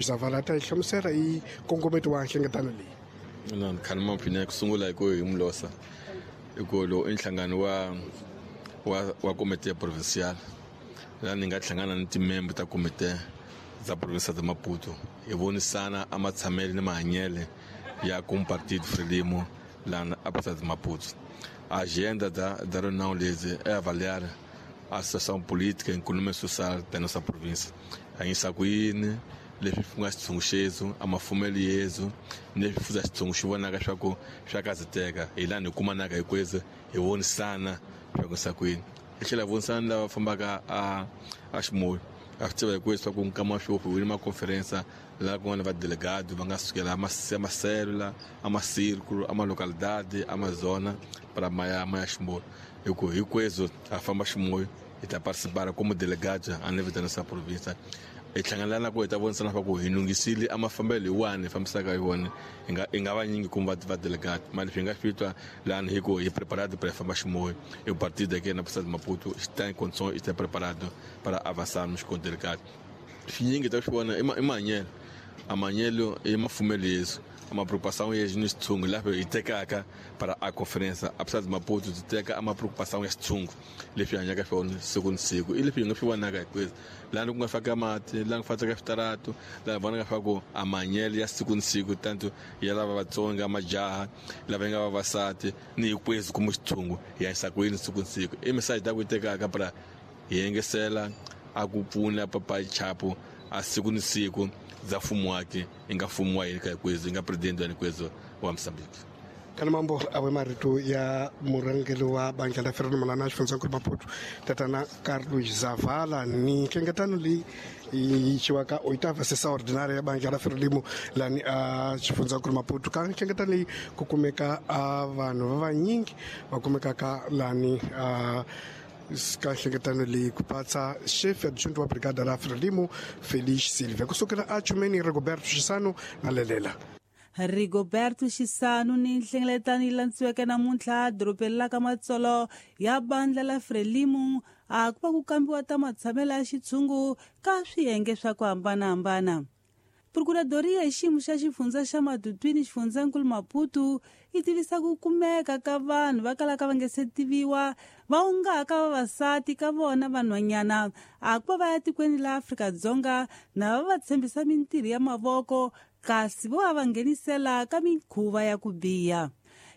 Zavala ta hi hlamusela hi nkongometo wa nhlengeletano leyi. Na khani mapfina ku sungula hi ku hi mulosa hi ku lowu i nhlangano wa komite ya provincial laha ni nga hlangana ni timembe ta komite za provinsia de Maputo hi vonisana a matshamele ni mahanyele ya com partido Frelimo lá na província de Maputo. A agenda da reunião lhes é avaliar a situação política e econômica e social da nossa província. A insakuini, leswi ku nga xitshungu xezu a mafumelo yezu ni leswi fuza xitshungu xi vonaka swa ku swa kazeteka hi laha hi kumanaka hinkwenu hi vonisana swa ku sakwini hi tlhela vonisana lava fambaka a ximoyo a swi tiva hinkwenu swa ku nkama wa sweswi hi wini maconferensa laha ku nga na vadelegado va nga sukela a maselula a macírculo a malocalidade a mazona para maya ximoyo hi ku hinkwenu a famba ximoyo hi ta participar como delegado a nível da nossa província. Hi hlangana na ku hi ta vonisana swa ku hi lunghisile a mafambelo hi wani hi fambisaka hi wona hi nga vanyingi kumbe va delegado mali leswi hi nga swi twa lani hi ku hi preparado para famba ximoyo e o partido aqui na província de Maputo está em condições, está preparado para avançarmos com o delegado. Swinyingi ta swi vona i mahanyelo a mahanyelo i mafumelo yesu uma preocupação yesu ni xitshungu laha hi tekaka para a conferência a província de Maputo ti teka ama preocupação ya xitshungu leswi hanyaka swona siku ni siku i leswi hi nga swi vonaka hinkwenu laha ku nga faka mati laha ku faka switarato laha hi vonaka swa ku a mahanyelo ya siku ni siku tanto ya lava vatsonga majaha lava nga vavasati ni hinkwenu kuma xitshungu hi hanyisa ku yini siku ni siku i message ta ku yi tekaka para hi yengesela a ku pfuna papayi chapo a siku ni siku za mfumo wake i nga mfumo wa hina hinkwenu i nga presidente wa hinkwenu wa Mozambique. Kana mambo awe marito ya murhangeri wa bandla la Frelimo lana xifundzankulu Maputo tatana Carlos Zavala ni nhlengeletano leyi yi ciwaka oitava sessão ordinária ya bandla la Frelimo lani a xifundzankulu Maputo. Ka nhlengeletano leyi ku kumeka a vanhu va vanyingi va kumekaka lani a ka nhlengeletano leyi ku patsa chef adjunto wa brigada la Frelimo Felix Silva kusukela a chumeni Rigoberto Xisano na lelela. Rigoberto Xisanu ni nhlengeletano yi landziweke namuntlha dorobeni la ka Matsolo ya bandla la Frelimo a ku va ku kambiwa ta matshamelo ya xitshungu ka swiyenge swa ku hambanahambana. Procuradoria hi xiyimo xa xifundza xa Matutwini xifundzankulu Maputo yi tivisa ku kumeka ka vanhu va kalaka va nge se tiviwa va ungaka vavasati ka vona vanhwanyana a ku va va ya tikweni la Afrika-Dzonga na va va tshembisa mintirho ya mavoko kasi vo va va nghenisela ka mikhuva ya ku biha.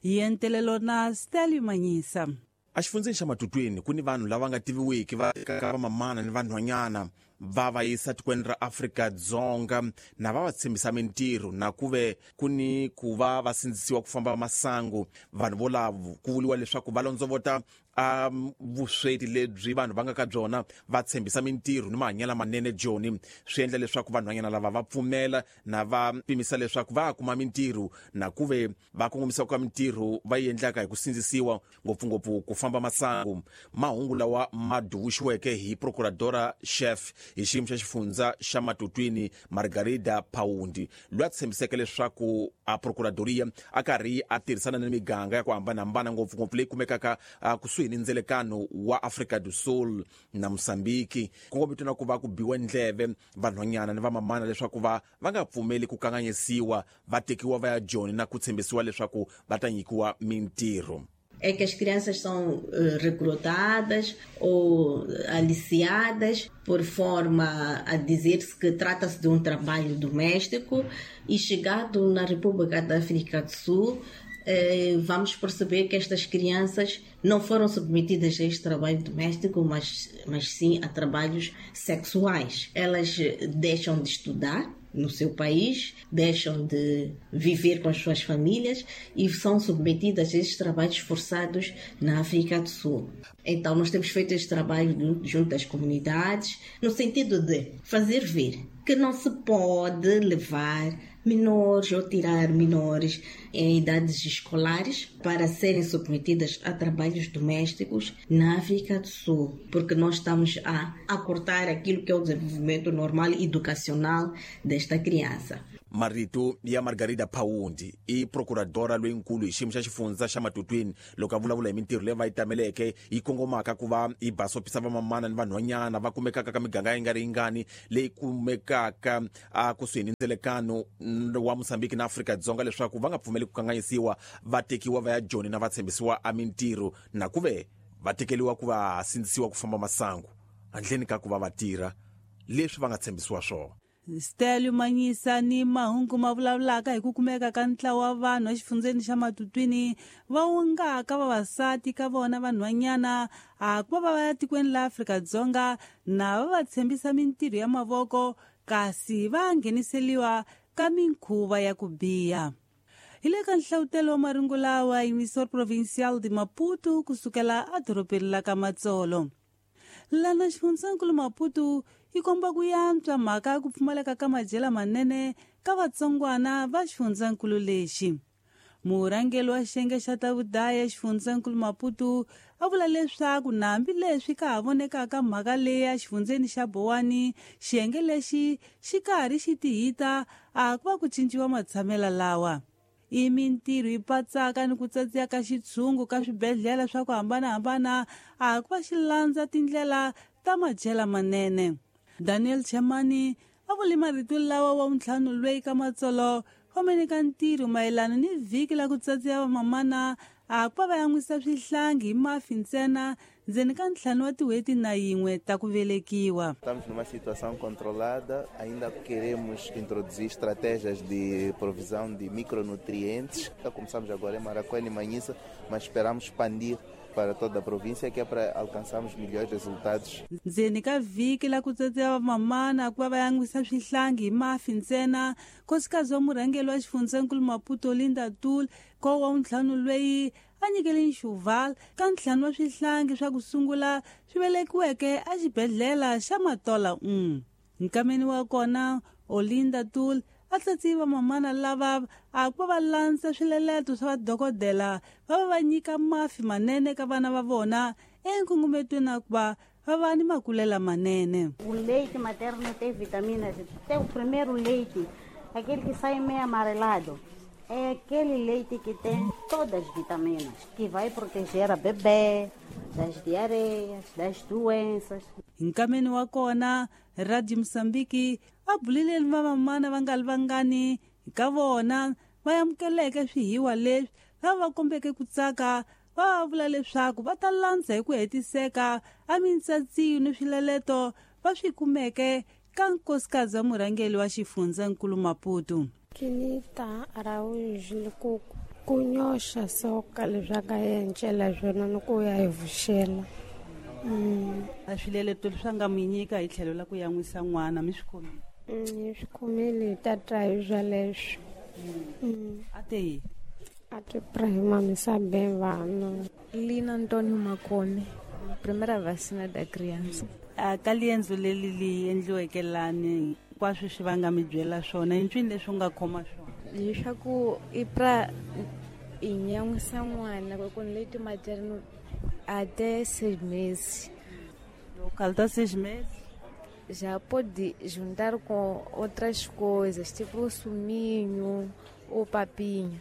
Yentelelo na Stanley Manyisa. Exifundzeni xa Matutwini ku ni vanhu lava nga tiviwiki va tekaka vamamana ni vanhwanyana va va yisa tikweni ra Afrika-Dzonga na va va tshembisa mintirho na ku ve ku ni ku va va sindzisiwa ku famba masangu. Vanhu volavo ku vuriwa leswaku va londzovota a vusweti lebyi vanhu va nga ka byona, va tshembisa mintirho ni mahanyelo lamanene joni swi endla leswaku vanhwanyana lava va pfumela na va pimisa leswaku va kuma mintirho na ku ve va kongomisa ka mintirho va yi endlaka hi ku sindzisiwa ngopfungopfu ku famba masangu. Mahungu lawa ma duvuxiweke hi procuradora chef hi xiyimo xa xifundza xa Matutwini Margarida Paundi loyi a tshembiseke leswaku a procuradoria a karhi a tirhisana ni miganga ya ku hambanahambana ngopfungopfu leyi kumekaka kusuhi ni ndzelekano wa Afrika do Sul na Mosambiki kongomito na ku va ku biwa ndleve vanhwanyana ni vamamana leswaku va nga pfumeli ku kanganyisiwa va tekiwa va ya joni na ku tshembisiwa leswaku va ta nyikiwa mintirho. É que as crianças são recrutadas ou aliciadas por forma a dizer-se que trata-se de um trabalho doméstico e, chegado na República da África do Sul, vamos perceber que estas crianças não foram submetidas a este trabalho doméstico, mas sim a trabalhos sexuais. Elas deixam de estudar no seu país, deixam de viver com as suas famílias e são submetidas a estes trabalhos forçados na África do Sul. Então, nós temos feito este trabalho junto às comunidades, no sentido de fazer ver que não se pode levar menores ou tirar menores em idades escolares para serem submetidas a trabalhos domésticos na África do Sul, porque nós estamos a cortar aquilo que é o desenvolvimento normal e educacional desta criança. Marito ya Margarida Paundi i procuradora loyinkulu hi xiyimo xa xifundza xa Matutwini loko a vulavula hi mintirho leyi va yi tameleke yi kongomaka ku va yi basopisa vamamana ni vanhwanyana va kumekaka ka miganga yi nga ri yingani leyi kumekaka a kusuhi ni ndzelekano wa Mozambique na Afrika-Dzonga leswaku va nga pfumeli ku kanganyisiwa va tekiwa va ya Joni na va tshembisiwa a mintirho na ku ve va tekeliwa ku va sindzisiwa ku famba masangu handleni ka ku va va tirha leswi va nga tshembisiwa swona. Stelio Manyisa ni mahungu ma vulavulaka hi ku kumeka ka ntlawa wa vanhu exifundzeni xa Matutwini va wongaka vavasati ka vona vanhwanyana a ku va va ya tikweni la Afrika-Dzonga na va va tshembisa mintirho ya mavoko kasi va ngheniseliwa ka minkhuva ya ku biha. Hi le ka nhlavutelo wa marungu lawa Emissor Provincial de Maputo kusukela edorobeni la ka Matsolo. Lana xifundzankulu Maputo yi komba ku yantswa mhaka ya ku pfumaleka ka madyela manene ka vatsongwana va xifundzankulu lexi. Murhangeri wa xiyenge xa ta vudaya xifundzankulu Maputo a vula leswaku na hambileswi ka ha vonekaka mhaka leyi exifundzeni xa Bowani, xiyenge lexi xi karhi xi tihita a ku va ku cinciwa matshamelo lawa. I mintirho yi patsaka ni ku tsatsiya ka xitshungu ka swibedhlele swa ku hambanahambana a ku va xi landza tindlela ta madyela manene. Daniel Chamani a vule marito lawa wa ntlhanu loyi ka Matsolo khomeni ka ntirho mayelana ni vhiki la ku tsatsiya vamamana a ku va va yan'wisa swihlangi hi mafi ntsena ndzeni ka 5 wa tin'hweti na yin'we ta ku velekiwa. Estamos numa situação controlada, ainda queremos introduzir estratégias de provisão de micronutrientes. Começamos agora em Maracuene e Manhissa, mas esperamos expandir para toda a província, que é para alcançarmos melhores resultados. Ndzeni ka vhiki la ku tsatsiya vamamana ku va va yan'wisa swihlangi hi mafi ntsena, nkosikazi wa murhangeri wa xifundzankulu Maputo Linda Tul ko wa ntlhanu loyi a nyikele nxuval ka 5 wa swihlangi swa ku sungula swi velekiweke exibedhlele xa Matola 1. Nkameni wa kona Olinda Tul a tsatsiyi vamamana lava a ku va va landza swileleto swa vadokodela va va nyika mafi manene ka vana va vona enkungumetweni ku va va va ni makulela manene. O leite materno tem vitaminas, tem o primeiro leite, aquele que sai meio amarelado. É aquele leite que tem todas as vitaminas, que vai proteger a bebê das diarreias, das doenças. Nkameni wa kona Radio Mozambique a bulile ni vamamana va nga li vangani ka vona va amukeleke swihiwa leswi lava va kombeke ku tsaka va vula leswaku va ta landza hi ku hetiseka a mintsatsiyo ni swileleto va swi kumeke ka nkosikazi wa murhangeri wa xifundzankulu Maputo. Kinita Araújo ku nyoxa soka leswaku a encela swona ni ku ya hi vuxela. A swileleto leswi a nga mi nyika hi tlhelo la ku yan'wisa n'wana mi swi khomile? Hi swi khomile, hi ta twa hi swoleswo. A te yini? A te pra hi mamisa bem vana. Lina Antônio Makone, primeira vacina da criança. A ka liendzo leri li endliweke lani hinkwaswo swi va nga mi byela swona i ncwini leswi u nga khoma swona? Leswaku i pra i nyan'wisa n'wana ku leite materno até 6 meses. Falta 6 meses? Já pode juntar com outras coisas, tipo o suminho ou papinha.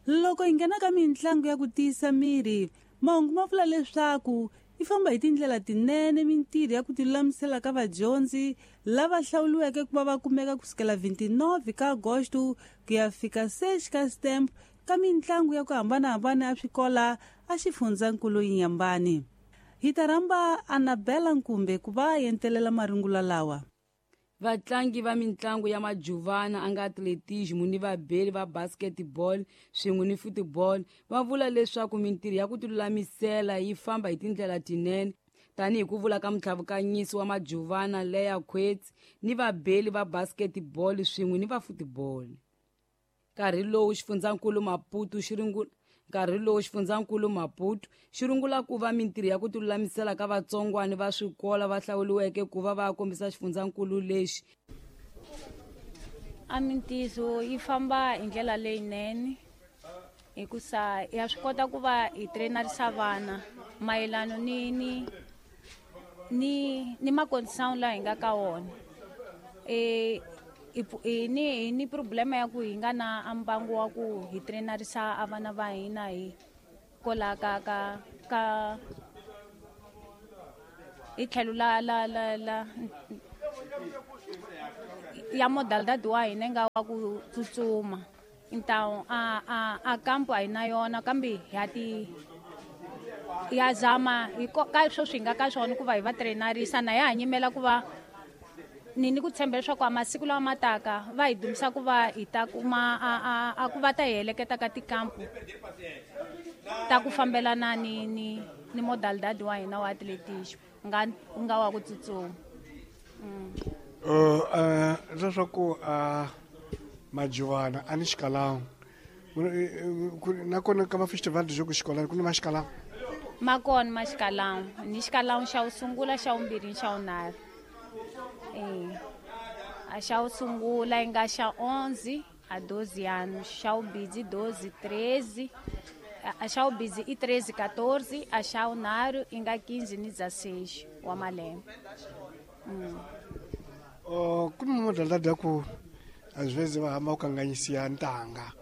Loko hi nghena ka mitlangu ya ku tiyisa miri, mahungu ma vula leswaku yi famba hi tindlela tinene mintirho ya ku tilulamisela ka vadyondzi lava hlawuriweke ku va va kumeka kusukela 29 ka Agosto ku ya fika 6 ka September ka mitlangu ya ku hambanahambana ya swikola a xifundzankulu Inhambane. Hi ta rhamba Anabela Nkumbe ku va a entelela marungula lawa. Vatlangi va mitlangu ya majuvana a nga atletismo ni vabeli va basketball swin'we ni football va vula leswaku mintirho ya ku tilulamisela yi famba hi tindlela tinene tanihi ku vula ka mutlhavukanyisi wa majuvana Leya Coetzee ni vabeli va basketball swin'we ni va football. Nkarhi lowu xifundzankulu Maputo xi nkarhi lowu xifundzankulu Maputo xi rungula ku va mintirho ya ku tilulamisela ka vatsongwana va swikola va hlawuriweke ku va va kombisa xifundzankulu lexi. A mintizo yi famba hi ndlela leyinene hikusa ya swi kota ku va hi trainarisa vana mayelana ni ni ni ni macondition laha hi nga ka wona. Hi ni problema ya ku hi nga na a mbangu wa ku hi trainarisa a vana va hina hi kola ka ka ka hi tlhelo la la la la ya modalidade wa hina nga wa ku tsutsuma. Então a kampo a hi na yona kambe ya ti ya zama hi ka swo swi nga ka swona ku va hi va trainarisa na ya ha nyimela ku va ni ni ku tshemba leswaku a masiku lawa ma taka va hi dumisa ku va hi ta kuma a ku va ta hi heleketa ka tikampu ta ku fambelana ni ni ni modalidade wa hina wa atletismo nga wa ku tsutsuma. Leswaku majiwana a ni xikalangu nakona ka ma-festival de jogo xikolani ku ni maxikalangu ma kona maxikalangu ni xikalangu xa wu sungula, xa vumbirhi ni xa vunharhu. A xa wu sungula yi nga xa 11 a 12 anos, xa vumbirhi 12 13, a xa vumbirhi i 13 14, a xa vunharhu yi nga 15 ni 16 wa malembe. Ku ni modalidade ya ku às vezes va hamba ku kanganyisiwa ntanga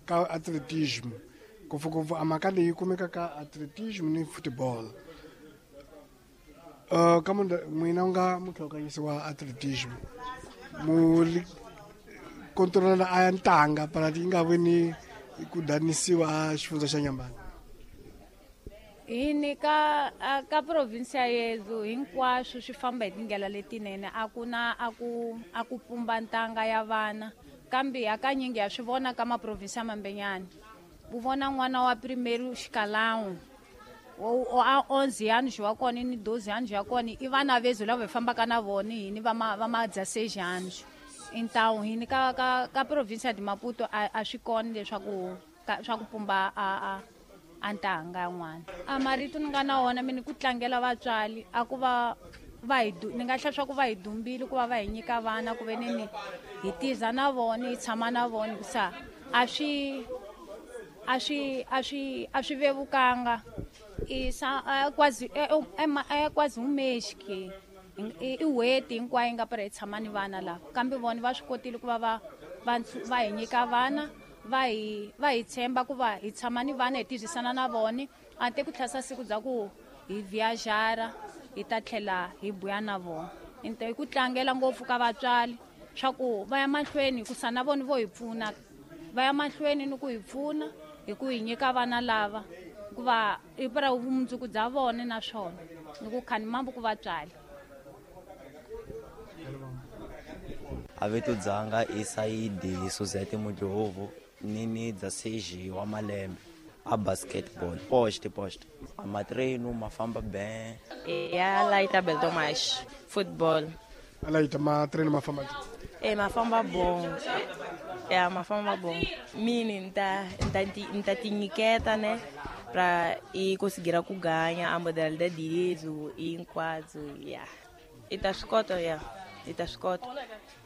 ka atletismo ngopfungopfu a mhaka leyi kumeka ka atletismo ni football. Ka n'wina u nga mutlhokanyisi wa atletismo mu controla a ya ntanga para yi nga vi ni ku danisiwa a xifundza xa Nyambani. Hi ni ka ka province ya yethu hinkwaswo swi famba hi tindlela letinene, a ku na a ku pumba ntanga ya vana kambe hakanyingi ya swi vona ka maprovinsi ya mambenyana. U vona n'wana wa primeiro xikalangu a 11 anos wa kona ni 12 anos ya kona i vana vezu lava hi fambaka na vona hini va ma 16 anos. Então hini ka ka ka province de Maputo a swi kona leswaku swa ku pumba a a ntanga yan'wana. A marito ni nga na wona mina ku tlangela vatswari a ku va va hi ni nga hlaya swa ku va hi dumbile ku va va hi nyika vana ku ve ni hi tiza na vona hi tshama na vona hikusa a swi a swi a swi a swi vevukanga. Quase é quase um mês que i n'hweti hinkwayo yi nga para hi tshama ni vana lava kambe vona va swi kotile ku va va va va hi nyika vana va hi tshemba ku va hi tshama ni vana hi tirhisana na vona a te ku tlhasa siku bya ku hi viajara hi ta tlhela hi buya na vona. Into hi ku tlangela ngopfu ka vatswari swa ku va ya mahlweni hikusa na vona vo hi pfuna va ya mahlweni ni ku hi pfuna hi ku hi nyika vana lava hikuva i para vumundzuku bya vona naswona ni ku khani mambo ku vatswari. A vito dzanga i Saidi Suzette Mudlovu ni ni 16 wa malembe a basketball post a matreno mafamba ben ya laita Beltomas football a laita matreno mafamba mafamba bom ya mafamba bom mini nta tinyiketa ne pra e conseguir ku ganha a modalidade direito e enquadro ya ita swi ya ita swi kota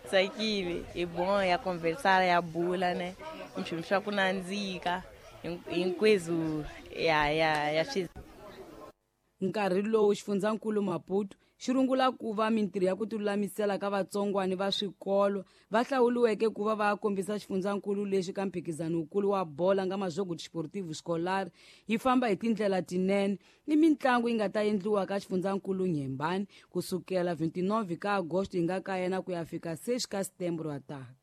tsakile i bom ya conversar ya bula ne nchumu swa ku nandzika hinkwezwo ya ya ya swi. Nkarhi lowu xifundzankulu Maputo xi rungula ku va mintirho ya ku tilulamisela ka vatsongwani va swikolo va hlawuriweke ku va va kombisa xifundzankulu lexi ka mphikizano wukulu wa bola nga Majogo Desportivo Escolar yi famba hi tindlela tinene ni mitlangu yi nga ta endliwa ka xifundzankulu Nyembani kusukela 29 ka Agosto yi nga ka yena ku ya fika 6 ka Setembro wa taka.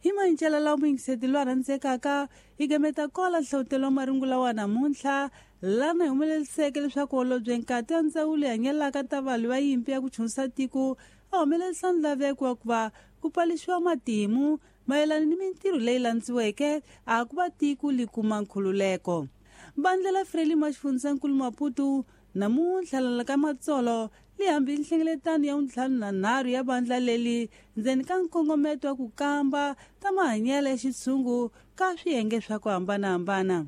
Hi mancela lawa muyingiseti loyi a rhandzekaka hi gameta kola nhlawutelo wa marungula wa namuntlha lana hi humeleliseke leswaku holobye nkati ya ndzawulo yi hanyelaka ta valwi va yimpi ya ku chunisa tiko a humelerisa nlaveko wa ku va ku paluxiwa matimu mayelana ni mintirho leyi landziweke a ku va tiko li kuma nkhululeko. Vandla la Frelimo ya xifundzankulu Maputo namuntlha lala ka Matsolo li hambi nhlengeletano ya 53 ya vandla leli ndzeni ka nkongometo wa ku kamba ta mahanyelo ya xitshungu ka swiyenge swa ku hambanahambana.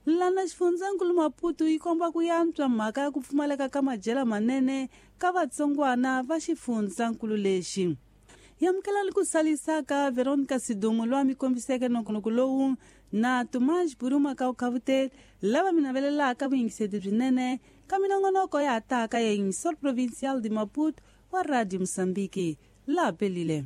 Lana xifundzankulu Maputo yi komba ku yantswa mhaka ya ku pfumaleka ka madyela manene ka vatsongwana va xifundzankulu lexi. Yamukela ni ku salisaka Veronica Sidumo loyi a mi kombiseke nongonoko lowu na Tomás Buruma ka Ukhavuteli lava mi navelelaka vuyingiseti byinene ka minongonoko ya ha taka ya Emissor Provincial de Maputo wa Radio Moçambique laha pelile.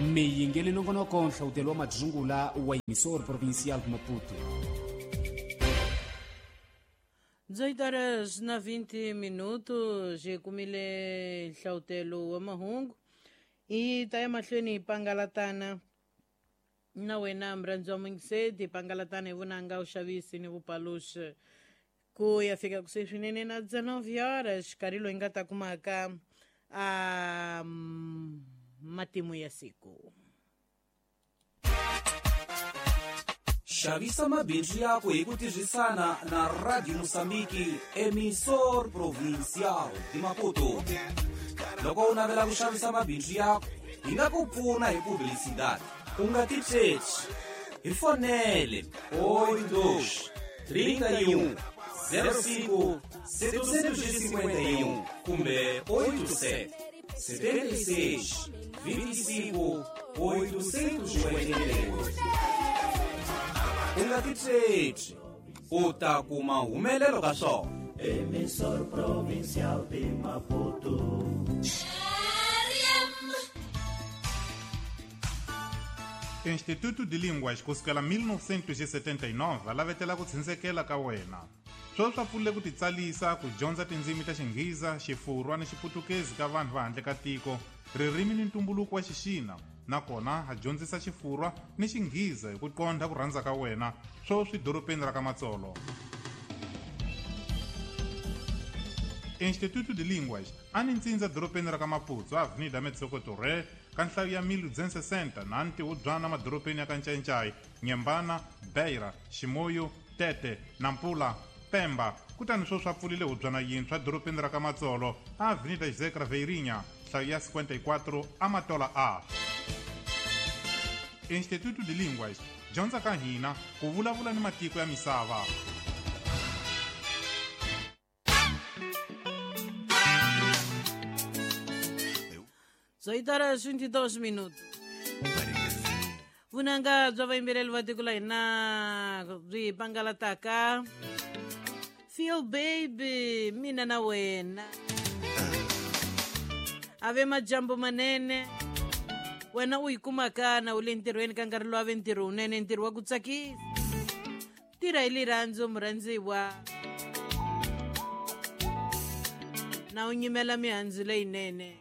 Mi yingeli nongonoko nhlawutelo wa madzungula wa Emissor Provincial de Maputo. 18 horas na 20 minutos hi kumile nhlawutelo wa mahungu hi ta ya mahlweni hi pangalatana na wena murhandzi wa muyingiseti hi pangalatana hi vunanga vuxavisi ni vupaluxi ku ya fika kusuhi swinene na 19 horas nkarhi loyi nga ta kumaka a matimu ya siku. Xavisa mabindzu yako hi ku tirhisana na Radio Moçambique, Emissor Provincial de Maputo. Loko u navela ku xavisa mabindzu yako, hi nga ku pfuna hi publicidade. U nga titsheci, hi fonele 82 31 05 751 kumbe 87 76 25 888. U nga titsheci, u ta kuma humelelo ka swona. Emissor Provincial de Maputo. Instituto de Línguas kusukela 1979 va lavetela ku tshindzekela ka wena. Sweswi swa pfulile ku titsalisa ku dyondza tindzimi ta Xinghiza, Xifurwa ni Xiputukezi ka vanhu va handle ka tiko, ririmi ni ntumbuluko wa Xixina, nakona ha dyondzisa Xifurwa ni Xinghiza hi ku qondha ku rhandza ka wena, sweswi dorobeni ra ka Matsolo. Instituto de Línguas a ni ntsindza dorobeni ra ka Maputo, Avenida Metsoko Torre, ka nhlayo ya 1260 na ntihubyana madorobeni ya ka Ncayincai, Nyembana, Beira, Ximoyo, Tete, Nampula, Pemba. Kutani sweswi swa pfulile hubyana yintshwa dorobeni ra ka Matsolo, Avenida José Craveirinha, nhlayo ya 54 Amatola A. Instituto de Línguas, dyondza ka hina ku vulavula ni matiko ya misava. 18 horas 22 minutos. Vunanga bya vayimbeleri va tiko la hina byi pangalataka. Feel baby, mina na wena. Ave majambo manene. Wena u yi kumaka na u le ntirhweni ka nkarhi lowu ave ntirho wunene, ntirho wa ku tsakisa. Tirha hi rirhandzu murhandziwa. Na u nyimela mihandzu leyinene.